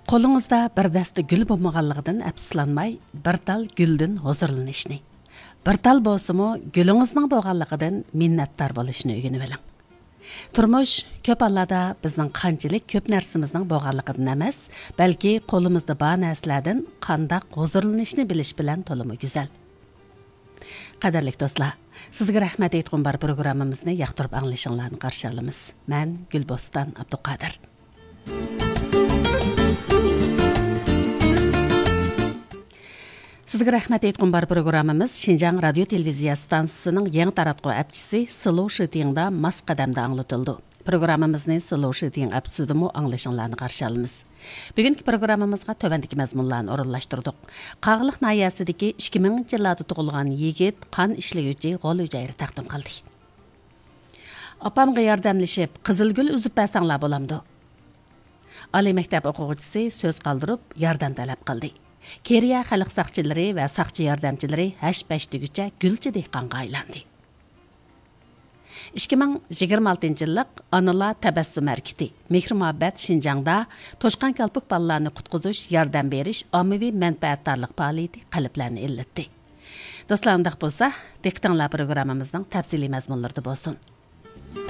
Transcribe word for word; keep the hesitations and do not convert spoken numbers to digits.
قولىڭىزدا بىر دەستە گۈل بولمىغانلىقىدىن ئەپسۇسلانماي، بىر تال گۈلدىن ھۇزۇرلىنىشنى، بىر تال بولسىمۇ گۈلىڭىزنىڭ بولغانلىقىدىن مىننەتدار بولۇشنى ئۆگىنىۋېلىڭ. تۇرمۇش كۆپ ھاللاردا بىزنىڭ قانچىلىك كۆپ نەرسىمىزنىڭ بولغانلىقىدىن ئەمەس، بەلكى قولىمىزدا بار نەرسىلەردىن قانداق ھۇزۇرلىنىشنى بىلىش بىلەن تولىمۇ گۈزەل. قەدىرلىك دوستلار، سىزگە رەھمەت ئېيتقۇم بار پروگراممىمىزنى ياقتۇرۇپ ئاڭلىشىڭلارنى قارشى ئالىمىز. مەن گۈلبوستان ئابدۇقادىر. سىزگە رەھمەت ئېيتقۇم بار پروگراممىمىز شىنجاڭ رادىيو تېلېۋىزىيە ئىستانسىسىنىڭ يېڭى تاراتقۇ ئەپچىسى سىلۇ شىتىڭدا ماس قەدەمدە ئاڭلىتىلىدۇ. پروگراممىمىزنى سىلۇ شىتىڭ ئەپچىسىدىمۇ ئاڭلىشىڭلارنى قارشى ئالىمىز. بۈگۈنكى پروگراممىمىزغا تۆۋەندىكى مەزمۇنلارنى ئورۇنلاشتۇردۇق. قاغىلىق ناھىيەسىدىكى ئىككى مىڭىنچى يىللاردا تۇغۇلغان يىگىت قان ئىشلىگۈچى غول ھۈجەيرە تەقدىم قىلدى. ئاپامغا ياردەملىشىپ، قىزىل گۈل ئۈزۈپ بەرسەڭلار بولامدۇ؟ ئالىي مەكتەپ ئوقۇغۇچىسى سۆز قالدۇرۇپ، ياردەم تەلەپ قىلدى. كېرىيە خەلق ساقچىلىرى ۋە ساقچى ياردەمچىلىرى ھەش-پەش دېگۈچە گۈلچى دېھقانغا ئايلاندى. ئىككى مىڭ يىگىرمە ئالتىنچى يىللىق ئانىلار تەبەسسۇم ھەرىكىتى، مېھرى-مۇھەببەت شىنجاڭدا توشقان كالپۇك بالىلارنى قۇتقۇزۇش، ياردەم بېرىش، ئاممىۋى مەنپەئەتدارلىق پائالىيىتى قەلبلەرنى ئىللىتتى. دوستلار، ئۇنداق بولسا، دىققىتىڭلار پروگراممىمىزنىڭ تەپسىلىي مەزمۇنلىرىدا بولسۇن.